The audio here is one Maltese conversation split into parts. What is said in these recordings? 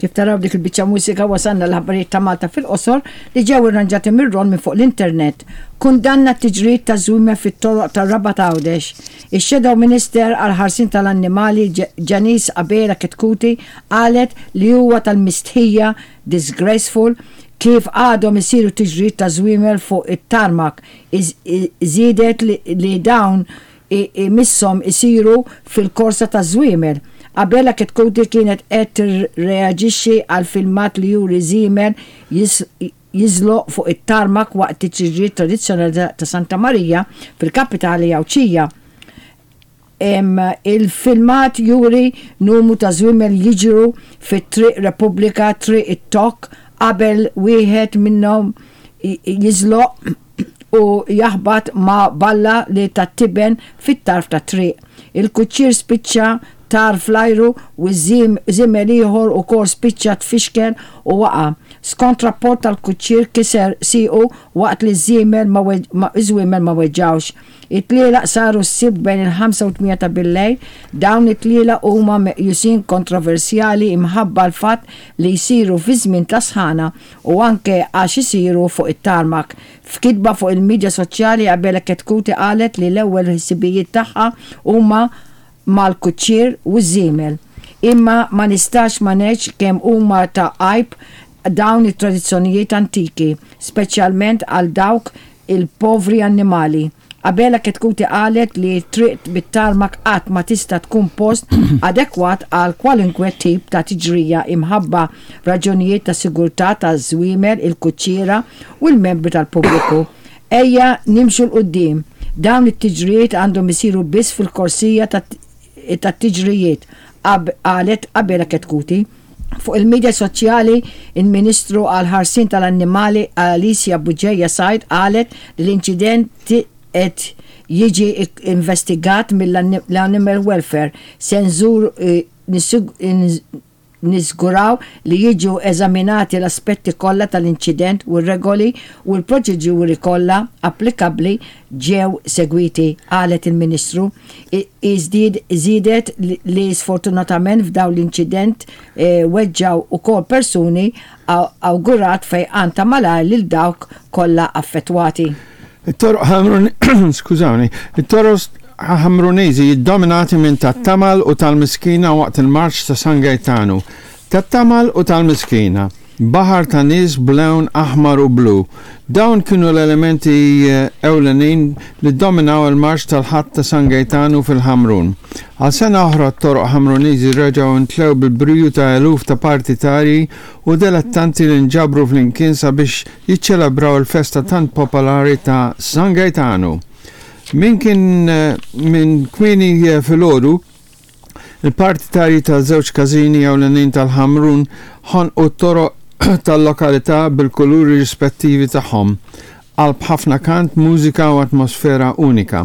Kif taraw dik il-biċċa mużika wasalna l-aħbarijiet ta' Malta fil-qosor li ġew irranġati mir-Ron minn fuq l-internet. Kundanna t-tiġrijiet taż-żwiemel fit-toroq tar-Rabat Għawdex. Ix-Shadow Minister għall-Ħarsien tal-Annimali Janice Abela Chetcuti qalet li huwa tal-mistħija, disgraceful, kif għadhom isiru tiġrijiet ta' żwiemel fuq it-tarmac. Żiedet li dawn imisshom isiru fil-korsa taż-żwiemel. Abela Chetcuti kienet qed tirreaġixxi għal filmat li juri żiemel jiżloq fuq it-tarmak waqt it-tiġrijiet tradizzjonali ta' Santa Marija fil-kapitali Għawdxija. Il-filmat juri numru ta' żwiemel jiġru fi Triq Repubblika, Triq it-Tokk, qabel wieħed minnhom jiżloq u jaħbat ma' balla li tat-tiben fit-tarf tat-triq. Il-kuċċier spiċċa tar fl-ajru u żiemel ieħor ukoll spiċċa tfixkel u waqa'. Skont rapport tal-kuċċier kiser siequ waqt li ż-żiemel ma iż-żwiemel ma weġġgħux. It-tlielaq saru s-Sibt bejn il-ħamsa u t-tmienja ta' billejl. Dawn it-tlielaq huma meqjusin kontroversjali imħabba l-fatt li jsiru fi żmien ta' sħana u anke għax isiru fuq it-tarmac. F'kitba fuq il-midja soċjali Abela Chetcuti qalet li l-ewwel ħsibijiet tagħha huma mal-kuċċier u ż-żiemel. Imma ma nistax ma ngħidx kemm huma ta' għajb dawn it-tradizzjonijiet antiki, speċjalment għal dawk il-povri annimali. Abela Chetcuti qalet li t-triq bit-tarmak qatt ma tista' tkun post adekwat għal kwalunkwe tip ta' tiġrija imħabba raġunijiet ta' sigurtà taż-żwiemel, il-kuċċiera u l-membri tal-pubbliku. Ejja nimxu 'l quddiem. Dawn it-tiġrijiet għandhom isiru biss fil-korsija tat-tiġrijiet, qalet Abela Chetcuti. Fuq il-midja soċjali, il-Ministru għall-Ħarsien tal-Annimali Alicia Bugeja Said qalet li l-inċident qed jiġi investigat mill-Animal Welfare. Se nżur niżguraw li jiġu eżaminati l-aspetti kollha tal-inċident u r-regoli u l-proċeduri kollha applikabbli ġew segwiti, qalet il-Ministru. Hi żiedet li sfortunatament f'dawn l-inċident weġġgħu ukoll persuni, awgurat fejqan ta' malajr lil dawk kollha affettwati. It-toroq Ħamrun skużawni, it-toroq Ħamruniżi jiddominati minn tat-tamal u tal-miskina waqt il-marċ ta' San Gejtanu. Tat-tamal u tal-miskina. Baħar ta' nies b'lewn aħmar u blu. Dawn kienu l-elementi ewlenin li ddominaw il-marċ tal-Ħadd ta' San Gejtanu fil-Ħamrun. Għal sena oħra t-toroq Ħamruniżi reġgħu ntlew bil-briju ta' eluf ta' partitarji u delettanti li nġabru flimkien sabiex jiċċelebraw il-festa tant popolari ta' San Gejtanu. Min kien minn kmieni filgħodu, Il-partitarji ta' żewġ każini ewlenin tal-Ħamrun ħonqu t-toroq tal-lokalità bil-kuluri rispettivi tagħhom, qalb ħafna kant, mużika u atmosfera unika.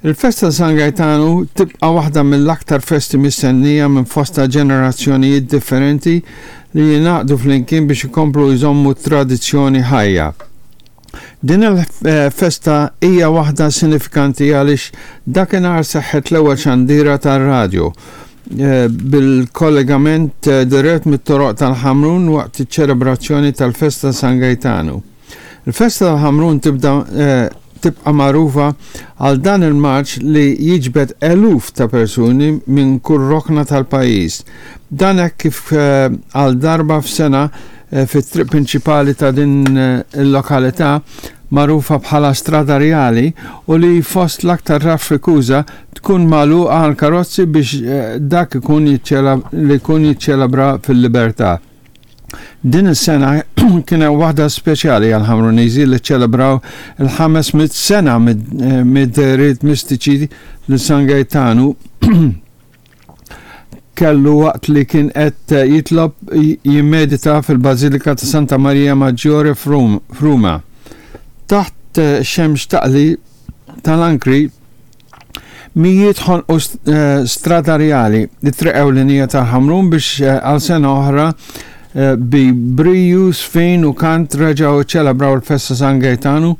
Il-festa ta' San Gajtanu tibqa' waħda mill-aktar festi mistennija minn fosta ġenerazzjonijiet differenti li jingħaqdu flimkien biex ikomplu jżommu t-tradizzjoni ħajja. Din il-festa hija waħda sinifikanti għaliex dakinhar seħħet l-ewwel xandira tar-radju eh, bil-kollegament eh, dirett mit-toroq tal-Ħamrun waqt iċ-ċelebrazzjoni tal-festa San Gejtanu. Il-festa tal-Ħamrun tibda eh, tibqa' magħrufa għal dan il-marċ li jiġbed eluf ta' persuni minn kull rokna tal-pajjiż. Dan hekk kif għal darba f'sena fit-triq prinċipali ta' din il-lokalità magħrufa bħala Strada Rjali u li fost l-aktar traffikuża tkun magħluqa għall-karozzi biex dak ikun li jkun jiċċelebra fil-libertà. Din is-sena kienet waħda speċjali għall-Ħamruniżi li ċċelebraw il-500 sena mid-dehriet mistiċi li San Gejtanu kellu waqt li kien qed jitlob jimmedita fil-Bażilika ta' Santa Maria Maggiore f'Ruma. Taħt xemx taqli tal-ankri, mijiet ħonqu eh, Strada Rjali, it-triq ewlenija tal-Ħamrun biex eh, għal sena oħra eh, bi briju, sfin u kant reġgħu ċelebraw il-festa San Gaetanu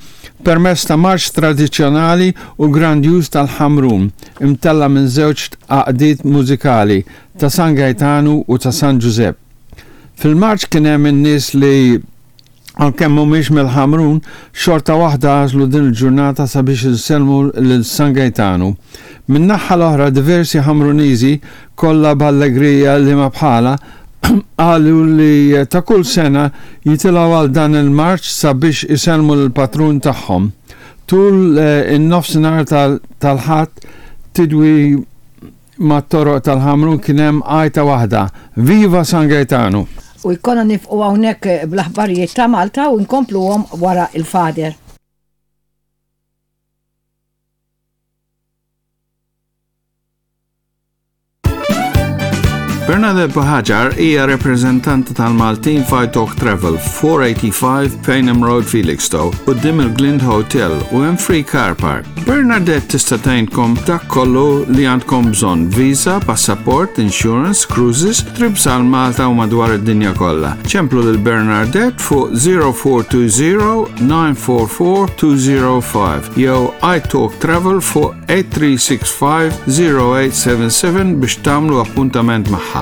permezz ta' marċ tradizzjonali u grandjuż tal-Ħamrun. imtella' minn żewġt għaqdiet mużikali, ta' San Gaetanu u ta' San Ġużepp. Fil-marċ kien hemm in-nies li għalkemm mhumiex mill-Ħamrun, xorta waħda għażlu din il-ġurnata sabiex isellmu lil San Gejtanu. Min-naħha l-oħra diversi Ħamruniżi, kollha b'allegrija liema bħalha, qalu li ta' kull sena jitilgħu għal dan il-marċ sabiex isellmu lill-patrun tagħhom. Tul in-nofsinhar tal-Ħadd tidwi mat-toroq tal-Ħamrun kien hemm għajta waħda, Viva San Gaetano! U jkollna nifqu hawnhekk bl-aħbarijiet ta' Malta u nkompluhom wara l-Father. Bernadette Buhagiar hija rappreżentanta tal-Maltin f'Italk Travel, 485 Payneham Road, Felixstowe, quddiem il-Glind Hotel u hemm free car park. Bernadette tista' tgħinkom dak kollu li għandkom bżonn, visa, passaport, insurance, cruises, trips għal Malta u madwar id-dinja kollha. Ċemplu lil Bernadette fuq 0420 944 205 jew iTalk Travel fuq 8365 0877 biex tagħmlu appuntament magħha.